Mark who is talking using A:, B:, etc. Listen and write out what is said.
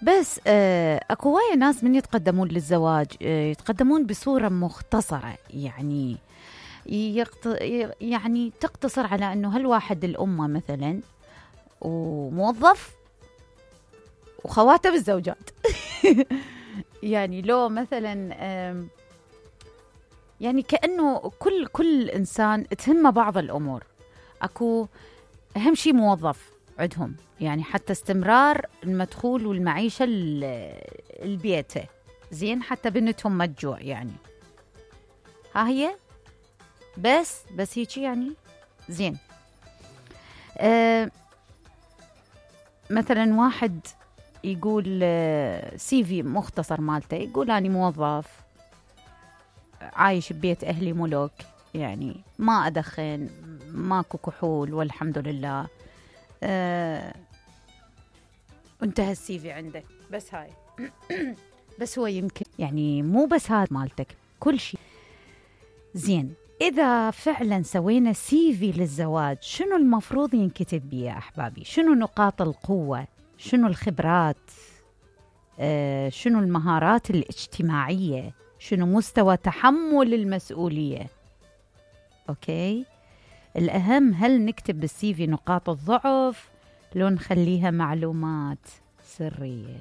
A: بس اكو هواية ناس من يتقدمون للزواج يتقدمون بصورة مختصرة، يعني يعني تقتصر على انه هالواحد الأمة مثلا وموظف وخواته بالزوجات. يعني لو مثلا يعني كأنه كل إنسان تهمه بعض الأمور. أكو أهم شيء موظف عندهم، يعني حتى استمرار المدخول والمعيشة البيته، زين، حتى بنتهم ما تجوع، يعني ها هي بس هيك يعني زين. مثلا واحد يقول سي في مختصر مالته، يقول أنا موظف عايش ببيت أهلي ملوك، يعني ما أدخن، ماكو كحول والحمد لله. انتهى السي في عنده، بس هاي. بس هو يمكن يعني مو بس هذا مالتك، كل شيء زين. إذا فعلا سوينا سي في للزواج، شنو المفروض ينكتب بيه يا أحبابي؟ شنو نقاط القوة؟ شنو الخبرات؟ شنو المهارات الاجتماعية؟ شنو مستوى تحمل المسؤولية؟ أوكي، الأهم هل نكتب بالسي في نقاط الضعف لو نخليها معلومات سرية؟